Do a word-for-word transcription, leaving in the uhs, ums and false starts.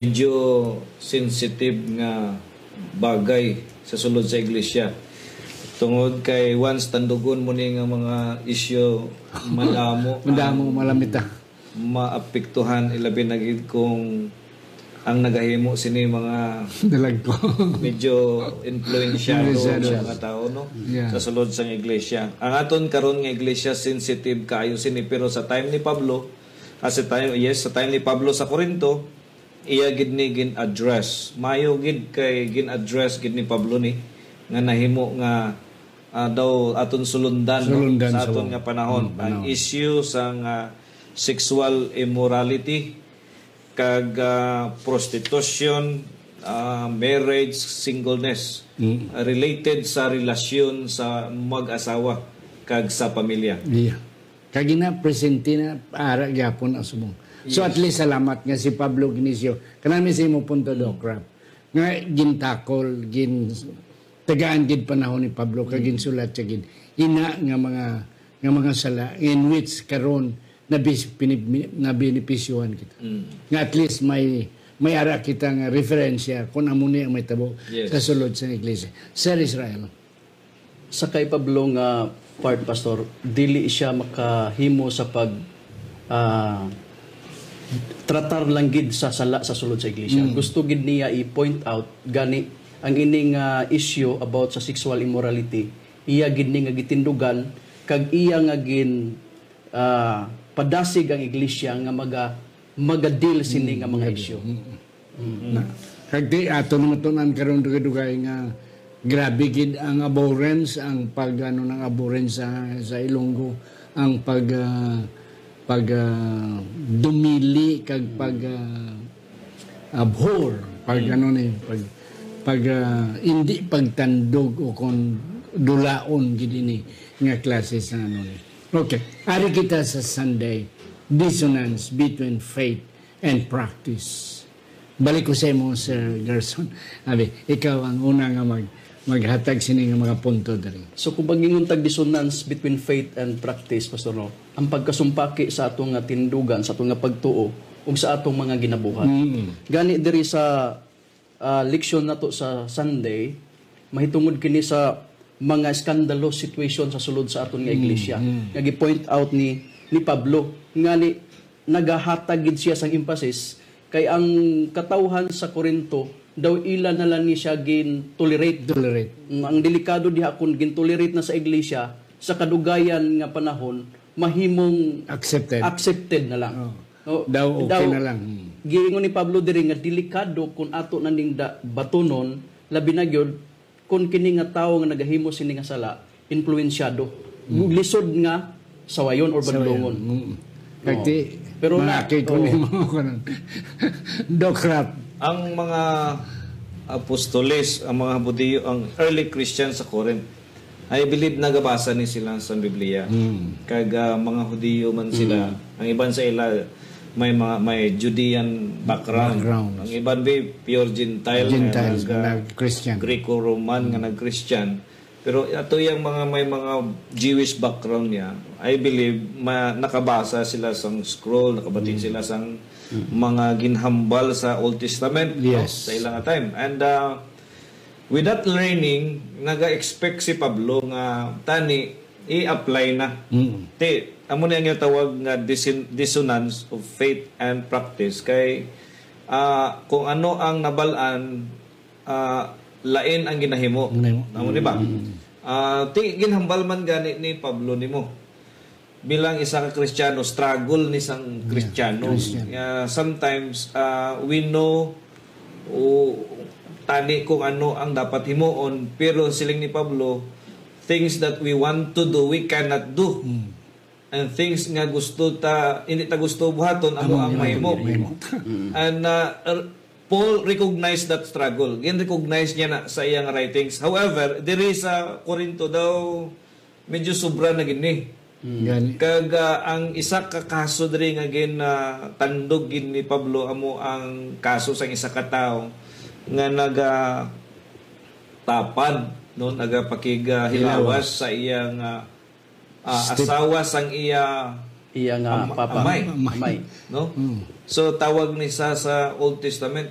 medyo sensitive nga bagay sa sulod sa iglesia. Tungod kay once tandugon mo ni nga mga isyu, madamo Madamo, ang malamita. maapektuhan, ilabi na gid kung ang nagahimo sini mga Dalag ko. medyo influensyado Influensyado. sa mga tao, no? Yeah. Sa sulod sang iglesia. Ang aton karon nga iglesia, sensitive kaayo sini, pero sa time ni Pablo, ah, sa time, yes, sa time ni Pablo sa Corinto, iya gid ni gin-address. Mayo gid kay gin-address gid ni Pablo ni nga nahimo nga, ah, daw aton sulundan, no? Sulundan Sa sa aton wa- nga panahon, Mm, ang panahon. issue sang, ah, sexual immorality kag, ah, prostitution, ah, marriage, singleness, Mm. ah, related sa relasyon sa mag-asawa kag sa pamilya. Iya. Kag ina, presente na, ara gyapon ang subong. So, Yes. at least, salamat nga si Pablo Ignacio, kanami sa imo punto, Doc Rap, nga gintakol, gin, tagaan gid panahon ni Pablo, kag ginsulat siya gid. Ina nga mga, nga mga sala, in which karon nabis-, pinib-, nabenepisyohan kita. Mm. Nga at least may, may ara kita nga referensya kung amo ni ang may tabo Yes. sa sulod sa iglesia. Sir Israel. Sa kay Pablo nga part, Pastor, dili siya makahimo sa pag, ah, tratar lang gid sa sala sa sulod sa iglesia. Mm. Gusto gid niya i-point out gani ang ining, ah, issue about sa sexual immorality, iya gid ni nga gitindugan kag iya nga gin, ah, padasig ang iglesia nga maga, maga-deal sini nga mga Mm, issue. Mm. Mm. Na, kag di ato naman tunan karon dugay-dugay nga grabe gid ang abhorrence, ang pag, ano, ng abhorrence sa, sa Ilonggo, ang pag, ah, pag, ah, dumili kag pag, ah, abhor, pag, Mm. ano ni, pag, pag, ah, hindi pagtandog o kon dulaon gid ini nga klase sa, ano ni. Okay, ari kita sa Sunday, dissonance between faith and practice. Balik ko sa imo, Sir Gerson. Abi, ikaw ang una nga mag-, maghatag sini nga mga punto diri. So, kung mag-ingon tag dissonance between faith and practice, Pastor, no, ang pagkasumpaki sa ato nga tindugan, sa ato nga pagtuo, ug sa atong mga ginabuhat. Mm. Gani diri sa, ah, leksyon nato sa Sunday, mahitungod kini sa mga scandalous situation sa sulod sa aton nga Mm, iglesia, mm. nga gi-point out ni, ni Pablo, nga ni, nagahatag gid siya sang emphasis kay ang katawhan sa Corinto daw ila na lang ni siya gin-tolerate. Tolerate. Mm, ang delikado diha kung gin-tolerate na sa iglesia, sa kadugayan nga panahon, mahimong Accepted. accepted na lang. Oh. No? Daw okay Daw, na lang. Hmm. giingon ni Pablo diri nga delikado kung ato na ning da-, batunon, labi na gyud kung kini nga tawo nga nagahimo sini nga sala, influensyado. Mm. Lisod nga sawayon or Sawayon. Bandungon. Mm. Oo. Kag ti, Pero na, manakit ko oo. ni mga kanan. Doc Rap. Ang mga apostoles, ang mga Hudiyo, ang early Christians sa Corinth, I believe nagabasa ni sila sa Biblia. Mm. Kag, ah, mga Hudiyo man sila. Mm. Ang iban sa ila may mga, may Judean background. Background. Ang iban may pure Gentile, may Gentile, mga nag-Christian. Greco-Roman nga Mm. nag-Christian. Pero ato yang mga may mga Jewish background niya, I believe, ma-, nakabasa sila sang scroll, nakabati Mm. sila sang Mm. mga ginhambal sa Old Testament, no? Yes. Sa ilang time. And, uh, with that learning, naga-expect si Pablo nga tani i-apply na. Mm. Ti, amo ni ang tawag nga disin-, dissonance of faith and practice. Kay, ah, kung ano ang nabalaan, ah, lain ang ginahimo. Ginahimo. Amo, di ba? Mm. Ah, ti, ginhambal man gani ni Pablo nimo bilang isa ka Kristiyano, struggle ni sang Yeah, Kristiyano. Christian. Ah, sometimes, ah, we know, o, tani kung ano ang dapat himuon, pero siling ni Pablo, things that we want to do, we cannot do. Mm. And things nga gusto ta, hindi ta gusto buhaton, amo Amo ang nga mahimo. mahimo. Mm. And, uh, er, Paul recognized that struggle. Gin-recognize niya na sa iyang writings. However, diri sa Corinto daw, medyo sobra na gini. Mm. Gani. Kag, uh, ang isa ka kaso diri nga gin, uh, tandog gid ni Pablo amo ang kaso sang isa ka tawo nga naga tapad, no, nagapakig, uh, hilawas Hilawas. sa iyang, uh, ah, Step- asawa sang iya Iya nga Am- papa. Amay. Amay. No? So tawag ni sa sa Old Testament